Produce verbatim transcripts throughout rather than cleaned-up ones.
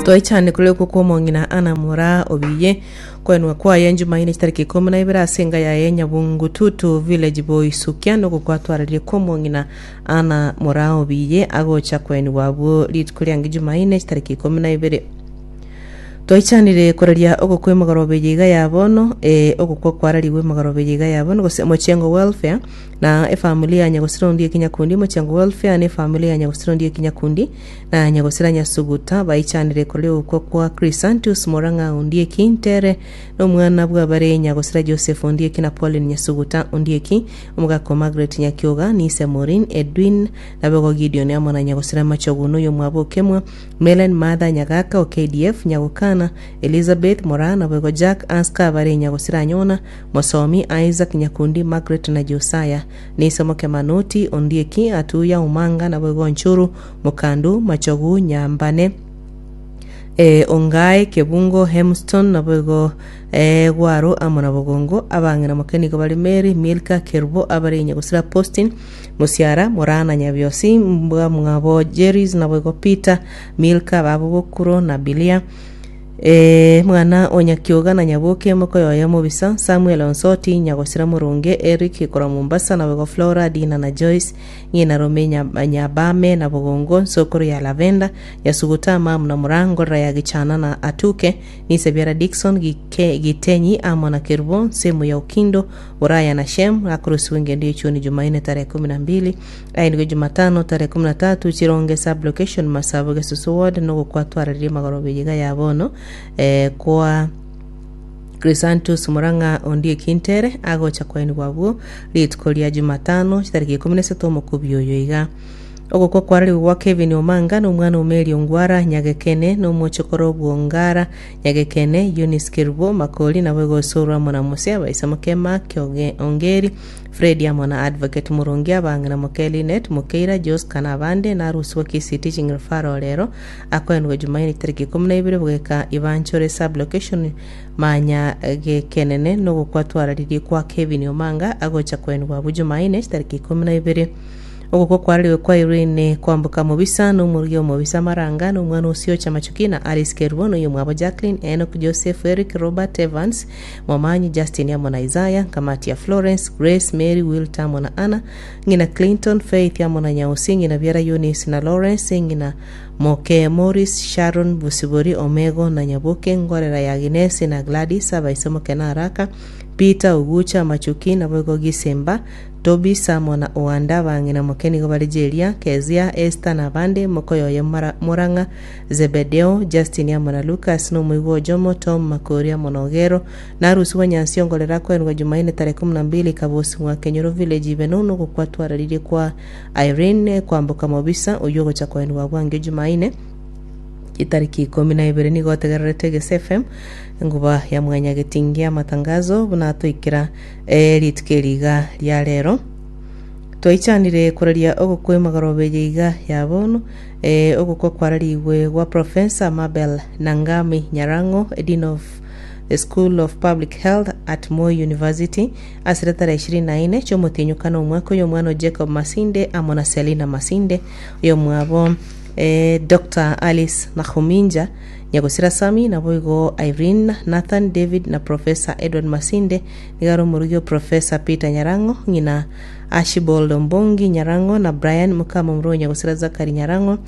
Toichane koria okwo kw'omong'ina Ana Moraa Obiye, koenwa kwaye Jumaine chitariki ikomi na ibere ase enga yaye Nyabungututu Village Boisukia nogokwatwararia kw'omong'ina Ana Moraa Obiye agocha koenigwa abwo rituko riange Jumaine chitariki ikomi na ibere. Twaichanire koraria ogokwa emegoroba eye iga ya bono, ee, ogokwa kwararigwe emegoroba eye iga ya bono, gose Mochengo Welfare na efamily ya Nyagosira Ondieki Nyakundi, Mochengo Welfare na efamily ya Nyagosira Ondieki Nyakundi na Nyagosira Nyasuguta baichanire koraria ogokwa kwa Chrysanthus Morang'a Ondieki Ntere na omwana bwabare Nyagosira Joseph Ondieki na Pauline Nyasuguta Ondieki, omogaka o Margaret Nyakioga, Nise Maureen, Edwin Nabego Gideon amo na Nyagosira Machogu na oyomwabo Okemwa, Melen Martha Nyagaka o K D F, Nyagokana, Elizabeth Moraa naboigo Jack Anska bare Nyagosira Anyona, Mosomi, Isaac Nyakundi, Margaret na Josiah, Niso Mokemanoti, Ondieki, Atuya, Omanga naboigo Onchuru, Mokandu, Machogu, Nyambane, eh, Ongae, Kebungo, Hemston naboigo eh, Gwaro amo na Bogongo. Abang'ina moke nigo bare Mary, Milka, Kerubo abare Nyagosira Postin, Musiara, Moraa na Nyabiosi, mbwa mwabo Jerris naboigo Peter, Milka, babo Bokuro na Bilia. Eh, mwana o Nyakioga na Nyaboke mokoyoya mobisa Samuel Onsoti, Nyagosira Murunge, Eric korwa Mombasa naboigo Flora, Dina na Joyce, ng'ina Rome, Nya- Nyabame na Bogongo, nsokoro ya Lavenda, Nyasuguta, Mamu na Murangorera ya Gichana na Atuke, Nisebiara Dikson Gike, Gitenyi amo na Kerubo, nsemo ya Ukindo, Buraya na Shem akurusiwa engendo yechuni Jumaine tarehe kumi na mbili aenigwe Jumatano tarehe kumi na tatu Chironge sub-location Masabo Gesusu ward nogokwatwararirie magoroba iga ya bono eh, kwa Chrysanthus Murang'a Ondieki Ntere agocha koenigwa abwo rituko ria Jumatano chitariki ikomi na isato omokubi oyo iga. Ogokwa kwararigwe gwa Kevin Omanga na omwana o Mary Ongwara Nyagekene na omochokoro bwongara Nyagekene Eunice Kerubo Makori nabo igosorwa amo na Mose abaisa moke Mark Oge- Ongeri Fred amo na Advocate Murungi, abang'ina moke Linet Mokeira Josca na abande. Narusiwa Kisii Teaching Referral rero akoenigwa Jumaine tariki ikomi na ibere bogeka Ibanchore sub-location manya gekenene nogokwatwararirie kwa Kevin Omanga agocha koenigwa abwo Jumaine tariki ikomi na ibere. Ogokwa kwarariwe kwa Irene Kwamboka Mobisa na omorugi omobisa Maranga na omwana Osiocha Machuki na Alice Kerubo na oyo mwabo Jacqueline, Enoch, Joseph, Eric, Robert, Evans Momanyi, Justin amo na Isaiah, kamati ya Florence, Grace, Mary, Wilta amo na Anna, ng'ina Clinton, Faith amo na Nyausi, ng'ina Biara Eunice na Lawrence, ng'ina Moke Morris, Sharon Busibori, Omego na Nyaboke, ngorera ya Agnes na Gladys, abaise moke na Araka, Peter Ogucha Machuki naboigo Gisemba, Toby, Samo na Oanda. Bang'ina moke nigo bare Jeria, Kezia, Esther na abande, mokoyoye Mara- Murang'a, Zebedeo, Justin amo na Lucas na omoigwa Ojomo, Tom Makori amo na Ogero. Narusiwa Nyansi ongorera kwenwa Jumaine tarehe kumi na mbili Kabosi mwa Kenyoro village Ibeno nogokwatwararirie kwa Irene Kwamboka Mobisa oyo ogocha kwenwa bwange Jumaine itariki ikomi na ibere. Nigo otegererete Egese F M, enguba ya mwanya getingia amatangazo buna toikera eh, rituko eriga ria rero. Twaichanire koraria ogokwa emagoroba eye iga ya bono, eh, ogokwa kwararigwe gwa Professor Mabel Nangami Nyarango, Dean of the School of Public Health at Moi University, asire tarehe ishirini na ine chiomotinyukana omwaka oyo omwana o Jacob Masinde amo na Selina Masinde oyo mwabo eh, Doctor Alice Nakhuminja, Nyagosira Sami naboigo Irene, Nathan, David na Professor Edward Masinde. Nigaro omorugi o Professor Peter Nyarango, ng'ina Archibald Ombongi Nyarango na Brian Mukama omoro Nyagosira Zakari Nyarango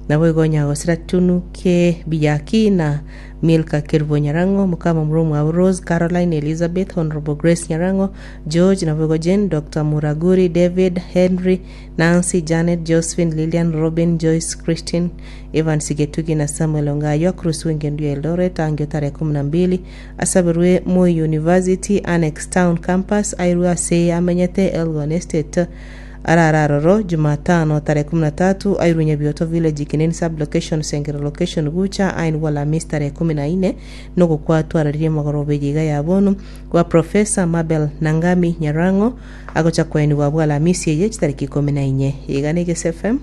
naboigo Nyagosira Tunuke Biyaki na Milka Kerubo Nyarango, Mukama omoro mwabo Rose, Caroline, Elizabeth, Honorable Grace Nyarango, George naboigo Jane, Doctor Muraguri, David, Henry, Nancy, Janet, Josephine, Lilian, Robin, Joyce, Christine, Evan Sigetugi na Samuel Ongayo. Akurusiwa engendo ya Eldoret angio tarehe kumi na mbili asabirwe Moi University Annex Town Campus airwe ase amenyete Elgon Estate arararoro Jumatano tarehe kumi na tatu airwe Nyabioto village Kineni sub-location Sengero location Gucha ainwa Alhamisi tarehe kumi na ine nogokwatwararirie magoroba iga ya bono kwa Professor Mabel Nangami Nyarango agocha kwenigwa bwa Alhamisi eye chitariki ikumi na inye. Iga na Egese F M,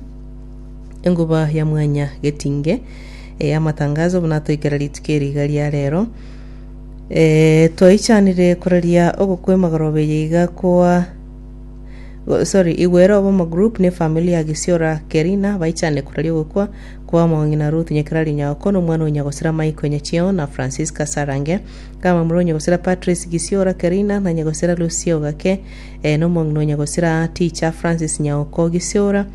enguba ya mwanya getinge e, amatangazo buna toikera rituko eriga ria rero. e, twaichanire koraria ogokwa emagoroba eye iga kwa Go- sorry Igwero Obomo Group ne family ya Gisiora Kerina baichane koraria ogokwa Kwa omong'ina Ruth Nyakerari Nyaoko, na omwana o Nyagosira Michael Nyachio na Francisca Sarange, Kama o Nyagosira Patrice Gisiora Kerina na Nyagosira Lucia Ogake, eh, na omong'ina o Nyagosira Teacher Francis Nyaoko Gisiora,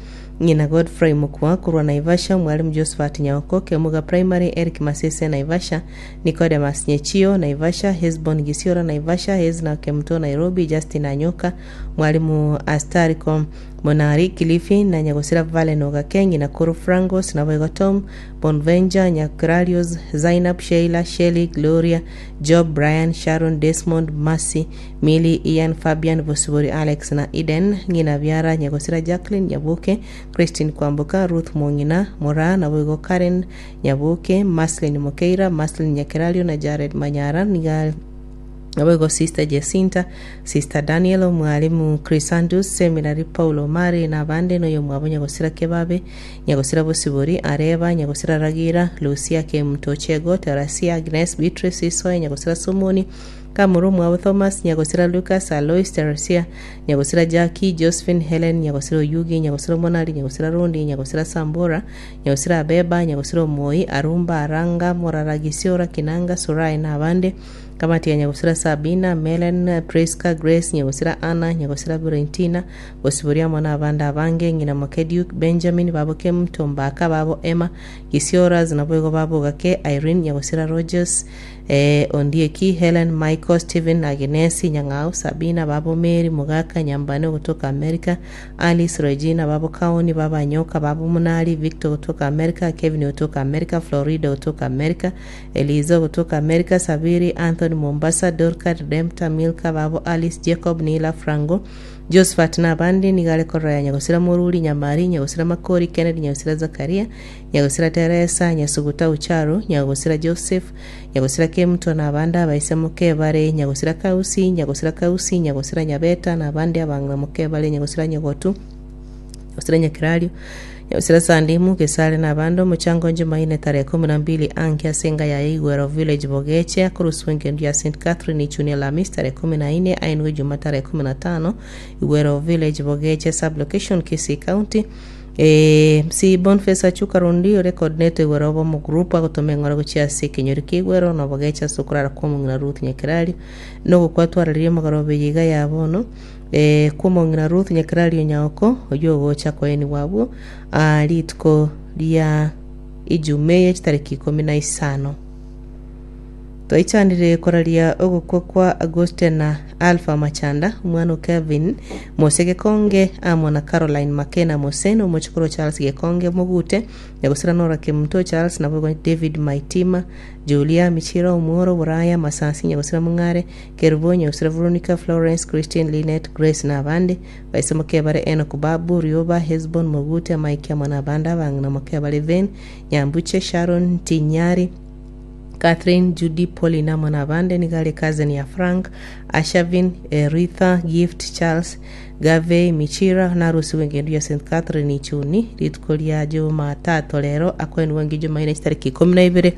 ng'ina Godfrey Mukwa korwa Naivasha, Mwalimu Josephat Nyaoko Kemuga Primary, Eric Masese Naivasha, Nicodemus Nyechio Naivasha, Hesbon Gisiora Naivasha, Hezna Kemto Nairobi, Justin Anyoka, Mwalimu Astariko Monari Kilifi na Nyagosira Valen Ogake, ng'ina Kuru Frangos na Boigo Tom Bonvenja Nyakrarios, Zainab Sheila Shelley Gloria Job Brian Sharon Desmond Mercy Mili Ian Fabian Bosibori Alex na Eden, ng'ina Biara Nyagosira Jacqueline Nyabuke, Christine Kwamboka, Ruth Mong'ina Mora na Boigo Karen Nyabuke, Maslin Mokeira, Maslin Nyakerario na Jared Manyara niga naboigo Sister Jacinta, Sister Daniel, Mwalimu Chrysanthus Seminary, Paulo Mari na abande, noyo mwabo Nyagosira Kebabe, Nyagosira Bosibori Areba, Nyagosira Ragira, Lucia Kemtochego, Terasia Agnes, Beatrice Isoe, Nyagosira Somoni Kamuru mwabo Thomas, Nyagosira Lucas, Alois Teresia, Nyagosira Jackie, Josephine Helen, Nyagosira Oyugi, Nyagosira Monali, Nyagosira Rundi, Nyagosira Sambora, Nyagosira Abeba, Nyagosira Omoi, Arumba, Aranga, Morara Gisiora, Kinanga, Surai na abande, kamati ya Nyagosira Sabina, Melen, Priska, Grace, Nyagosira Anna, Nyagosira Valentina, Bosiboria mwana abande abange, ng'ina moke Duke, Benjamin, babo Kemtombaka, babo Emma, Gisiora, zinaboigo babo Gake, Irene, Nyagosira Rogers, eh, Ondieki, Helen, Michael, Stephen, Agnesi, Nyang'au, Sabina, babo Mary, Mugaka, Nyambane kutoka America, Alice, Regina, babo Kaoni, baba Nyoka, babo Munali, Victor kutoka America, Kevin kutoka America, Florida kutoka America, Eliza kutoka America, Sabiri, Anthony Mombasa, Dorka, Redempta, Milka, babo Alice, Jacob, Nila, Frango, Josephat na abande, nigare korora Nyagosira Moruri, Nyamari, Nyagosira Makori, Kennedy, Nyagosira Zakaria, Nyagosira Teresa, Nyasuguta Ucharo, Nyagosira Joseph, Nyagosira Kemto na abande abaise mokebare, Nyagosira Kausi, Nyagosira Kausi, Nyagosira Nyabeta na abande abang'ina mokebare, Nyagosira Nyogotu, Nyagosira Nyakirario, Nyagosira Sandimu Gesare na abande. Omochango Jumaine tarehe kumi na mbili anke asenga ya Igwero Village Bogeche akoruswa engendu ya Saint Catherine Ichunia Lamis tarehe kumi na nne ainwe Juma tarehe kumi na tano Igwero Village Bogeche sublocation Kisii County. Eh, M C Boniface Achuka Rundi ore coordinator Igwero obo group agotoma eng'ora gochia ase ekenyoro kia Igwero na Bogeche ase okorara kwa omong'ina Ruth Nyakerario nogokwatwararia omogoroba iga ya bono eh, kwa omong'ina Ruth Nyakerario Nyaoko oywo ogocha koeniwa abwo ah, rituko ria Ijumaa chitariki ikomi na isano. Twaichanire koraria ogokwa kwa Augustin na Alpha Machanda, omwana o Kevin Mose Gekonge amo na Caroline Makena Mose na omochokoro Charles Gekonge Mogute, Nyagosira Nora Kemuto Charles nabo David Maitima, Julia Michira Omworo Buraya Masasi, Nyagosira Mung'are Kerubo, Nyagosira Veronica, Florence, Christine, Linet, Grace na abande baise mokebare Enoch Babu Rioba, Hesbon Mogute, Mike amo na abande abang'ina mokebare Ven Nyambuche, Sharon Tinyari, Catherine, Judy, Paulina Mwanabande, nigale cousin ya Frank, Ashavin, Ritha, Gift, Charles, Gave, Michira, narusi wengendu ya Saint Catherine Ichuni, rituko ria Jumatatu lero, akwenu wengi Jumaine chitariki ikumi na ibere,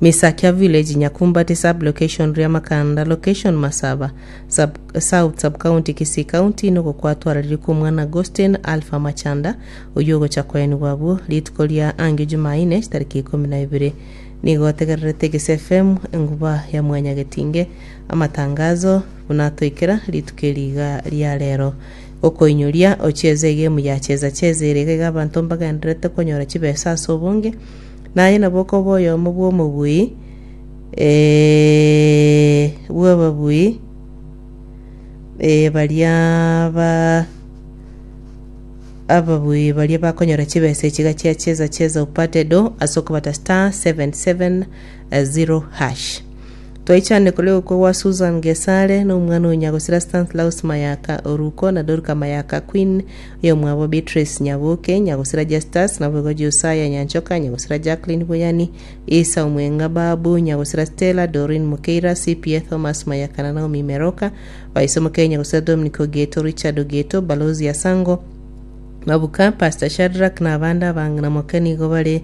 Misakia Village, Nyakumbati sub location, Riamakanda location, Masaba sub, South sub county, Kisii County, nuko kwatwararire mwana Agustin Alpha Machanda oyo gocha kwenu wabwo rituko ria ange Jumaine chitariki ikumi na ibere. Nigo tegererete Gese F M, enguba ya mwanya getinge amatangazo bunatoikera rituko eriga ria rero okoinyuria ochieze egemu ya cheza cheza ere iga abanto mbagenderete konyora chibesa ase obonge naye nabo okoba oyomo bwa omobui eh, bwa ababui eh, baria ba ababui baria bakonyora chibesa echiga chia cheza cheza upate do ase okobata star seven seven zero hash. Twaichane kule kwa Susan Gesare na omwana onyagosira Stanislaus Mayaka Oruko na Dorka Mayaka Queen oyo mwabo Beatrice Nyabuke, Nyagosira Justus na bwego Josiah Nyanchoka, Nyagosira Jacqueline Buyani, Isa Omwenga Babu, Nyagosira Stella Doreen Mukeira, C P A Thomas Mayaka na Naomi Meroka, Waisomo Kenya, Nyagosira Dominic Ogeto, Richard Ogeto, Balozi Asango Mabuka, Pastor Shadrack na abande abang'ina moke nigo bare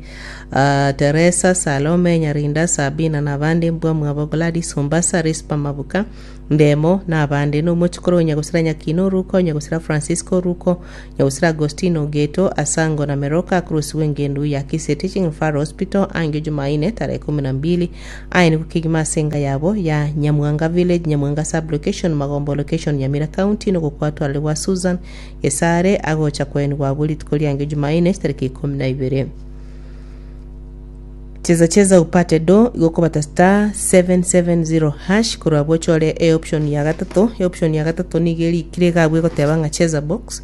uh, Teresa Salome Nyarinda, Sabina na abande mbwa mwabo Gladys Mombasa, Rispa Mabuka, Ndemo na abande na omochokoro Nyagosira Nyakino Oruko, Nyagosira Francisco Oruko, Nyagosira Agostino Geto, Asango na Meroka akorusigwa engendu ya Kisii Teaching Referral Hospital angio Jumaine tarehe kumi na mbili aye kegima ase enga yabo ya Nyamwanga Village, Nyamwanga Sub Location, Magombo Location, Nyamira County nogokwatwarire gwa Susan Gesare agocha kwenigwa bwo rituko riangio Jumaine tariki ikomi na ibere. Cheza cheza upate do igokobata star seven seven zero hash korwa bochore e option ya gatato. E option ya gatato nigo erikire iga abwo egoteba ng'a cheza box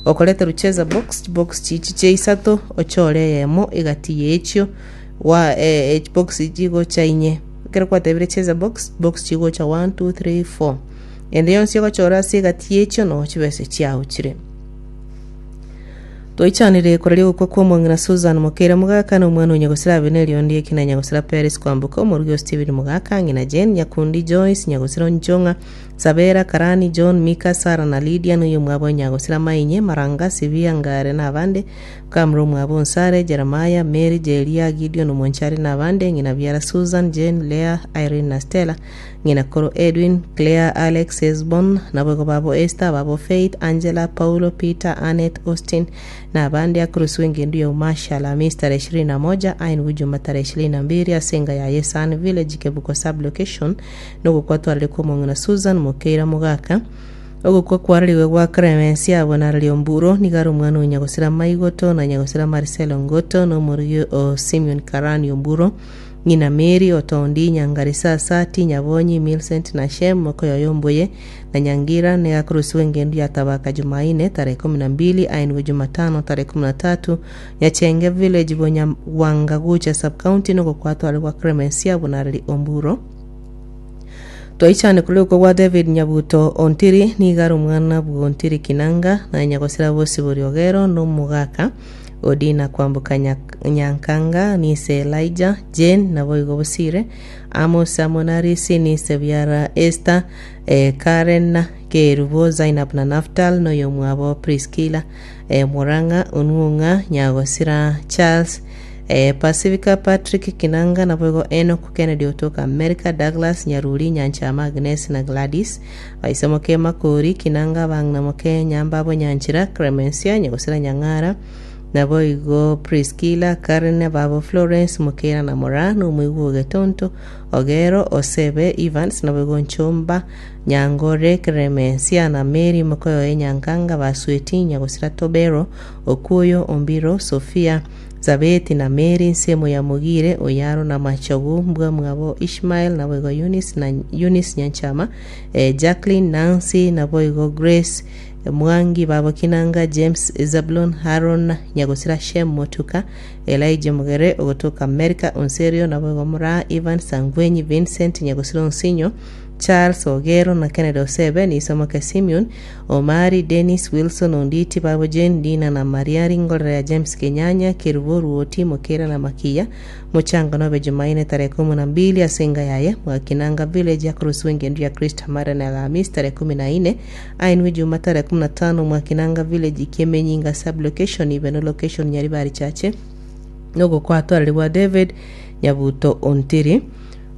okoreterwa cheza box box chichi chia isato ochore eyemo egati ya echio wa eh, eh, box chigocha inye ekero kwatebire cheza box box chigocha one two three four ende yonsi ogochora ase egati ya echio no chibese chiao chire. Toichanire koraria ogokwa kwa omong'ina Susan Mokeira Mogaka na omwana o Nyagosira Abineri Ondieki na Nyagosira Peris Kwamboka omorugi o Stephen Mogaka ng'ina Jane Nyakundi Joyce Nyagosira Nchong'a Sabera Karani John Mika Sara na Lydia noyo mwabo Nyagosira Mainye Maranga Sibia Ngare na abande Kamro mwabo Nsare Jeremiah Mary Jeria Gideon Monchari na abande ng'ina Biara Susan Jane Lea Irene na Stella ng'ina Koro Edwin Claire Alex Esbon nabo babo Esther babo Faith Angela Paulo Peter Annette Austin na abande akurusiwa engendu ya umasha Alhamisi tarehe ishirini na moja ain Juma tarehe ishirini na mbili asenga ya Yesan Village Kebuko sub location nogokwatwarire kwa omong'ina Susan Mokeira Mogaka ogokwa kwarariwe gwa Clemence abo na Omburo nigo omwana o Nyagosira Maigoto na Nyagosira Marcelo Ngoto na omorugi o Simeon Karani Omburo ng'ina Mary Otondi Nyangari Sasati Nyabonyi Millicent na Shem Mokoyoyo Mbuye na Nyangira ne akurusiwa engendu ya Tabaka Jumaine tarehe kumi na mbili ainwe Jumatano tarehe kumi na tatu Nyachenge Village Bonya Wangagucha sub county nogokwatwarwa gwa Clemence abo na Omburo. Twaichane kuri gwa David Nyabuto Ontiri nigaro omwana bwa Ontiri Kinanga na Nyagosira Bosibori Ogero no Omogaka Odina Kwamboka Nyankanga nise Elijah Jane nabo igo Bosire Amos Amonarisi nise Biara Esther eh, Karen Kerubo Zainab na Naftal noyo mwabo Priscilla eh, Murang'a Onwong'a Nyagosira Charles eh, Pacifica Patrick Kinanga naboigo Enoch Kennedy otoka America Douglas Nyaruri Nyanchama Agnes na Gladys Baisomoke Makori Kinanga Bang'namoke Nyambabo Nyanchira Clemencia Nyagosira Nyang'ara naboigo Priscilla Karen babo Florence Mukera na Mora nomoigwa Ogetonto Ogero Osebe Evans naboigo Nchomba Nyangore Clemencia na Mary Mokoyoe Nyankanga Basweti Nyagosira Tobero Okuyo Ombiro Sofia Zabeti na Mary nsemo ya Mugire Oyaro na Machogu mbwa mwabo Ishmael naboigo Eunice na Eunice Nyanchama eh, Jacqueline Nancy naboigo Grace Mwangi babo Kinanga James Zablon Haron Nyagosira Shem Motuka Elijah Mugere ogotoka America Onserio naboigo Mura Ivan Sangwenyi Vincent Nyagosira Onsinyo Charles Ogero na Kennedy Osebe nisomoke Simeon Omari Dennis Wilson Onditi babo Jane Dina na Maria Ringolera ya James Kenyanya Kerubo Ruoti Mokera na Makiya muchango nobe Jumaine tarehe kumi na mbili asenga yaye Mwakinanga Village akurusiwa engendu ya Kristo Mara na Alhamisi tarehe kumi na nne ainwe Juma tarehe kumi na tano Mwakinanga Village Kiemenyinga sub location Ibeno location Nyaribari Chache nogokwatwarire David Nyabuto Ontiri.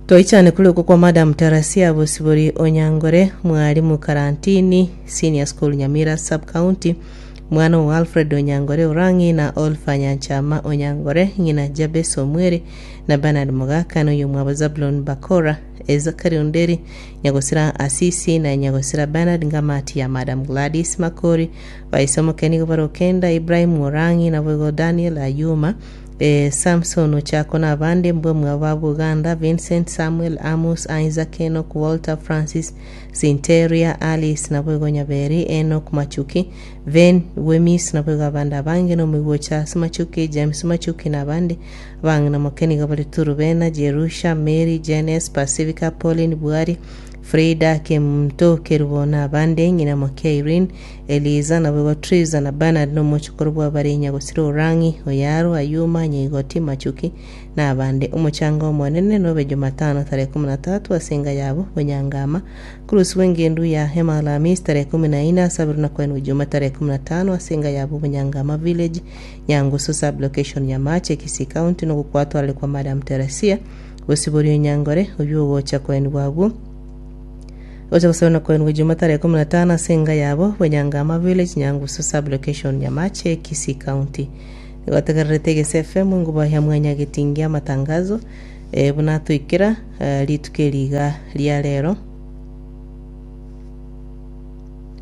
Toichane kuri uko kwa Madam Terasia Bosibori Onyangore mwalimu Karantini Senior School Nyamira Sub County mwana wa Alfred Onyangore Orangi na Olfa Nyanchama Onyangore ng'ina Jabes Omwere na Bernard Mogaka noyo mwabo Zablon Bakora Ezakari Onderi Nyagosira Asisi na Nyagosira Bernard Ngamati ya Madam Gladys Makori baisomoke nigo barokenda Ibrahim Orangi na boigo Daniel Ayuma eh, Samson Ochako na abande mbwe mwaba Buganda Vincent Samuel Amos Isaac Enoch Walter Francis Sinteria Alice naboigo Nyaberi Enoch Machuki Ven Wemis naboigo abande abange nomoigwa Charles Machuki James Machuki na abande abang'ina mokeniga bari Turubena Jerusha Mary Janes Pacifica Pauline Bwari Frida Kemto Kerubo na abande ng'ina moke Irene Eliza naboigo Triza na Bernard nomochokoro bwa bari Nyagosira Orangi Oyaro Ayuma Nyaigoti Machuki na abande omochanga omonene nobe Jumatano tarehe kumi na tatu asenga yabo Bonyangama kurusiwa engendu ya hema Alhamisi tarehe kumi na ine asabiru na kwenu Juma tarehe kumi na tano asenga yabo Bonyangama Village Nyangusu sub location Nyamache Kisii County nogokwatwarire kwa Madam Teresia Bosibori Onyangore oyo ogocha kwenu bwabwo Gocha gosabana koenwa Juma tarehe kumi na tano ase enga yabo Bwenyangama Village, Nyangusu Sub-location, Nyamache, Kisii County. Gotegererete Egese F M nguba ya mwanya getingia amatangazo eh, buna toikera eh, rituko eri iga ria rero.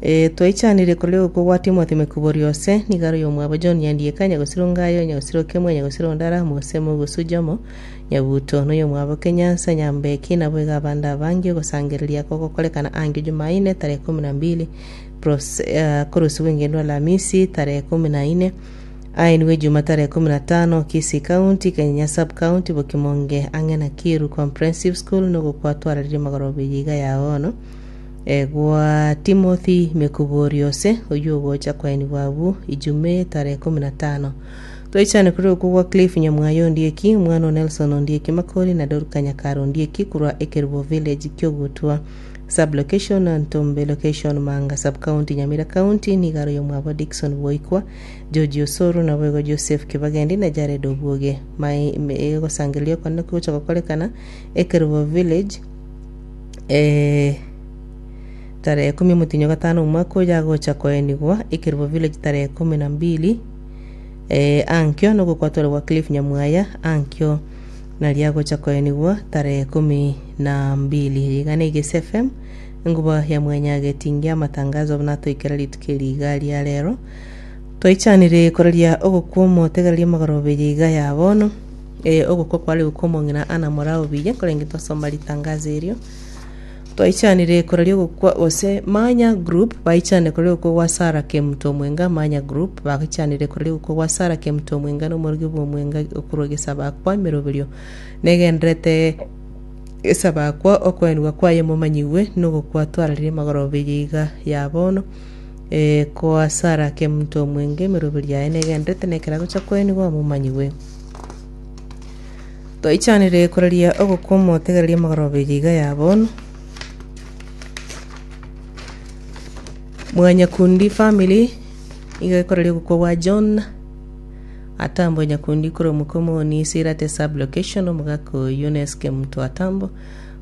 E, twaichanire korera okwo gwa Timothy Mekubori ose nigaro yomwabo John Nyandieka, Nyagosiro Ngayo, Nyagosiro Kemwe, Nyagosiro Ndara Mose Mogusu Jomo Nyabuto noyo mwabo Kenyansa Nyambeki nabo iga abande abange. Ogosangereria kogokorekana ange Jumaine tarehe kumi na mbili pros, uh, korusiwa engendo Alhamisi tarehe kumi na nne, aeniwe Juma tarehe kumi na tano, Kisii County, Kenya Sub County, Bokimonge ang'e na Kiru Comprehensive School. Nogokwatwararire magoroba iga ya bono e, gwa Timothy Mekubori ose oyu ogocha kwaeniwa abu Ijume tarehe kumi na tano. Twaichane kuri okwo gwa Cliff Nyamwayo Ondieki, omwana o Nelson Ondieki Makori na Dorka Nyakaro Ondieki kurwa Ekerubo Village, Kiogutwa Sub-location na Ntombe Location, Manga Sub-county, Nyamira County. Nigaro yomwabo Dickson Boikwa, George Osoro naboigo Joseph Kibagendi na Jared Obuoge. Egosangereria konene kogocha gokorekana Ekerubo Village eh, tarehe kumi mutinyo gatano omwaka oyo, agocha koenigwa Ekerubo Village tarehe kumi na mbili eh, ankio nogokwatwarwa gwa Cliff Nyamwaya ankio naria agocha koenigwa tarehe kumi na mbili. Iga na Igese F M enguba ya mwenya getingia amatangazo buna toikera rituko eri iga ria rero. Twaichanire koraria ogokwa omotegereria magoroba eye iga ya bono e, ogokwa kware gokwa omong'ina ana morao buya korenge twasoma ritangazo erio. Twaichanire koraria ogokwa gose Manya Group baichanire koraria ogokwa gwa Sara Kemuto Omwenga. Manya Group bagichanire koraria ogokwa gwa Sara Kemuto Omwenga na omorogi bwa Omwenga okorwa gesabakwa emeroberio negenderete gesabakwa okoenigwa kwaye momanyiwe nogokwa twararire magoroba eye iga ya bono e, kwa Sara Kemuto Omwenge emeroberi yaye negenderete nekera gocha koenigwa momanyiwe. Twaichanire koraria ogokwa omotegereria magoroba eye iga ya bono. Mwanyakundi family iga ekoraria ogokwa gwa John Atambo Nyakundi korwa Mukomoni Sirate Sub Location. Omogaka oyo Eunice Kemuto Atambo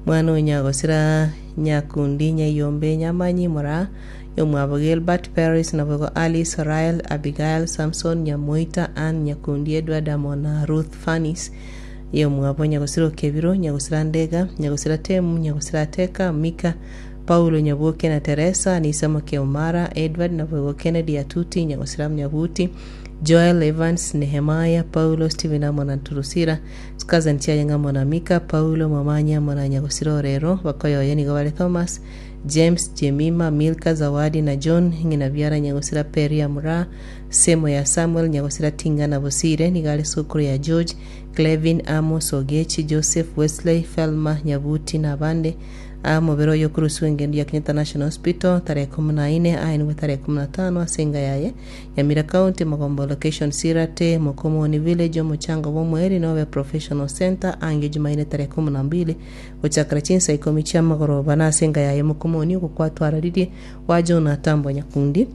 mwana onyagosira Nyakundi Nyaiyombe Nyamanyi Moraa yomwabo Gilbert Paris nabogo Alice Rael Abigail Samson Nyamoita Ann Nyakundi Edward amona Ruth Fanis yomwabo Nyagosira Okebiro, Nyagosira Ndega, Nyagosira Temu, Nyagosira Teka Mika, Paulo Nyaboke na Teresa Anisa Mokeomara Edward nabogo Kennedy Atuti, Nyagosira Nyabuti, Joel Evans, Nehemiah Paulo, Stephen amona Turusira Cousin Chiayenga mona Mika Paulo Mamanya mona Nyagosira Orero. Bakoyoye nigo bare Thomas, James, Jemima, Milka, Zawadi na John ng'ina biara Nyagosira Peria Mura semo ya Samuel Nyagosira Tinga na Bosire. Nigare sukuru ya George, Clevin, Amos Ogechi, Joseph, Wesley, Felma Nyabuti na abande. Amobere oyo kurusiwa engendo ya Kenyatta National Hospital tarehe kumi na nne, aenigwe tarehe kumi na tano ase yaye Nyamira County, Magombo Location, Sirate Mokomoni Village. Omuchango bw'omweri nobe Professional Center ange Jumaine tarehe kumi na mbili gochakera chinsa ikomi chia magoroba na ase yaye Mokomoni. Ogokwatwararirie wa John Atambo Nyakundi.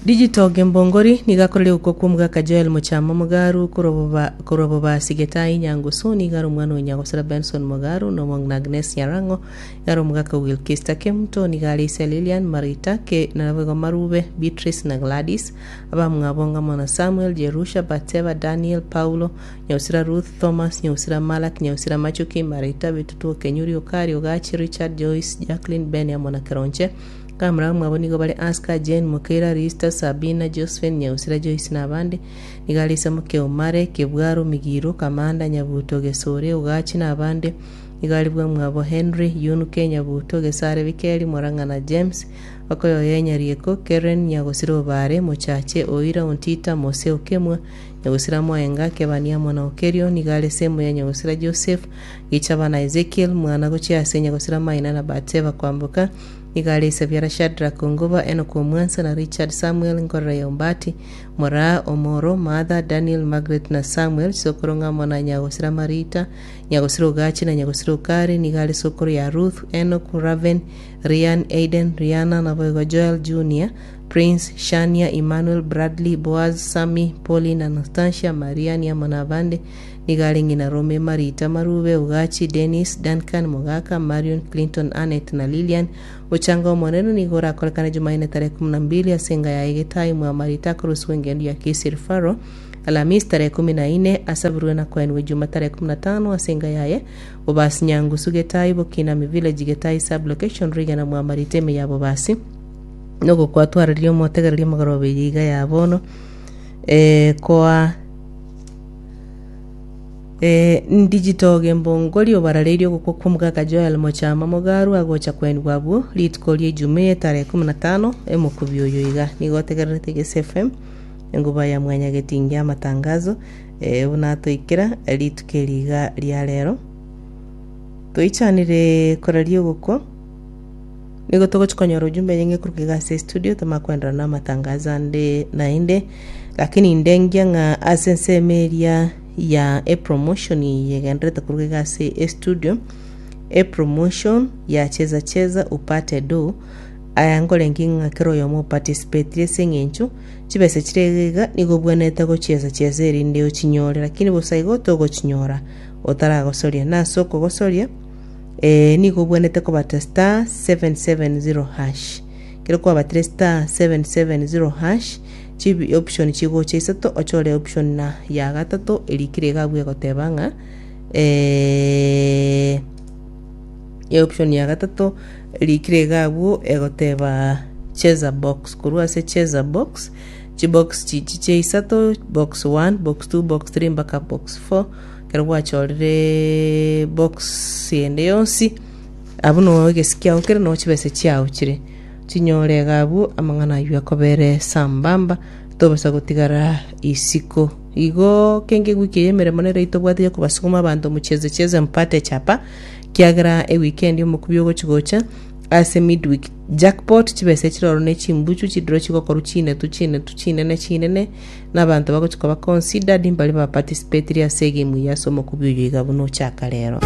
Digital Gembongori nigakoreria gokwa kwa omogaka Joel Mochama Mugaru korwa Bobasi Getai Nyangusu. Nigaro omwana o Nyagosira Benson Mugaru na omong'ina Agnes Nyarango. Igaro omogaka Wilkista Kemuto. Nigare ise Lilian Marita ke naboigo Marube, Beatrice na Gladys. Abamwabo ng'amo na Samuel, Jerusha, Batseba, Daniel, Paulo, Nyausira Ruth, Thomas, Nyausira Malak, Nyausira Machuki, Marita, Bitutu, Kenyuri, Okari, Ogachi, Richard, Joyce, Jacqueline, Ben amo na Keronche. Kamura mwabo nigo bare Aska, Jane, Mukera, Rista, Sabina, Josephine, Nyausira Joyce na abande. Nigarisa Muke Omare, Kebwaro, Migiro, Kamanda, Nyabuto, Gesore, Ugachi na abande. Nigaribwa mwabo Henry Yunuke, Nyabuto, Gesare, Bikeri, Morang'a na James. Bakoyoye Nyarieko, Keren, Nyagosira Obare, Mochache, Oira, Ontita, Mose, Okemwa, Nyagosira Mwaenga, Kebania mwana Okerio. Nigare semo ya Nyagosira Joseph Gichaba na Ezekiel mwana gochia ase Nyagosira Maina na Batseba Kwamboka. Nigare Isabiara Shadrack Ongoba, Enoch Omwansa na Richard Samuel Nkorora ya Ombati, Moraa, Omoro, Martha, Daniel, Margaret na Samuel. Sokoro ng'amo na Nyagosira Marita, Nyagosira Ogachi na Nyagosira Okari. Nigare sokoro ya Ruth, Enoch, Raven, Rian, Aiden, Riana naboigo Joel Junior, Prince, Shania, Emmanuel, Bradley, Boaz, Sami, Pauline, Anastasia, Maria ni amo na abande. Nigo are ng'ina Rome, Marita, Marube, Ugachi, Dennis, Duncan, Mogaka, Marion, Clinton, Annet na Lilian. Ochanga omonene nigo orakorekane Jumanne tarehe kumi na mbili ase enga yaye Getai mwa Marita akorosiwa engendo ya Kisii Referral. Alhamisi tarehe kumi na ine asabirwe na koenwa Ijuma tarehe kumi na tano ase enga yaye Bobasi Nyangusu Getai Bokinami Village Getai sub location Rigena mwa Marita ime ya Bobasi. Nogokwatwararia omotegereria omogoroba eye iga ya bono eh, koa eh, digital gembongori obarareirie ogokwa kwa omogaka Joel Mochama Mogaru agocha kwenigwa abwo rituko ria Ijumaa tarehe kumi na tano emokubi oyo iga nigo otegererete Gese F M enguba ya mwanyagetingi amatangazo eh, buna atoikera rituko eri iga ria rero toichanire koraria ogokwa nigo togochi konyora ujumbe nyinge kuruga iga ase studio tomakwendera na amatangazo ande naende, lakini ndengia ng'a ase ensemo eria ya epromotion yegenderete kuruga iga ase estudio, epromotion ya Cheza Cheza Upate Do. Aya nkorengi ng'a kera oyomo oparticipatire ase eng'encho chibesa chire iga iga nigo obwenerete gochiesa chiesa erinde ochinyore, lakini bosa igo togochinyora otaragosoria na ase okogosoria eh, nigo obwenerete kobata star seven seven zero hash. Kero kwabatire star seven seven zero hash, chibi option chigocha isato, ochore option na ya gatato erikire iga abwo egoteba ng'a eh, option ya gatato erikire iga abwo egoteba cheza box. Korwa ase cheza box, chibox chichi chia isato, box one, box two, box three mpaka box four. Ekero gwachorire box ende yonsi abwo no egesi kiao kere no chibesa chiao chire chinyore iga abwo amang'ana aywo akobere sambamba tobasa gotigara isiko. Igo kenge ewiki eye emeremo nere tobwate ya kobasukuma abanto mucheze cheze mpate chapa, kiagera eweekend omokubi ogochi gocha ase midweek jackpot chibesa chiroro ne chimbuchu chidiro chigokorwa chinetu chinetu chinene chinene na abanto bagochi koba considered mbari baparticipatire ase egame eye ase omokubi oyo iga buna ochaka rero.